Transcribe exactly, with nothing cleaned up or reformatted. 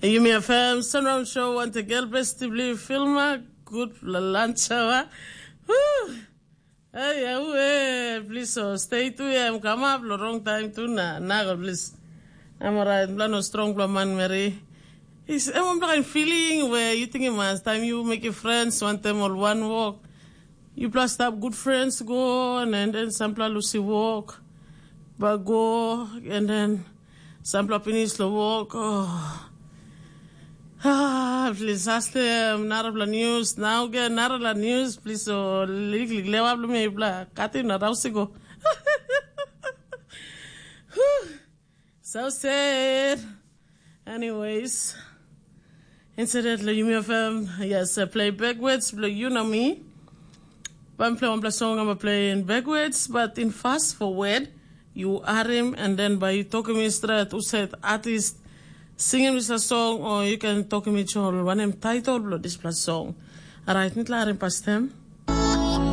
Yumi FM Sunround Show wantegel besti bli filma. Gutpela lunch hour. Hey, aue, please so stay tu em kamap lo wrong time tu na nago please. Em orait bla no strong bla manmeri. Is em bla kain feeling where you think mas time you make your friends want them all one walk. You plus stop good friends go and, and then sampla lusi walk. But go and then sampla finish lo walk. Oh. Ah, please ask them narapla news. Now get narapla news. Please so liklik lewa bla me bla kati na rausi go. So sad. Anyways, instead lo Yumi FM, yes, I play backwards blo you know me. But I'm play one plus song, I'm playing backwards, but in fast forward, you arim and then by you talking me straight, who said artist singing with a song, or you can talk me chol one name title blo this plus song. Alright, nit la arim pas them.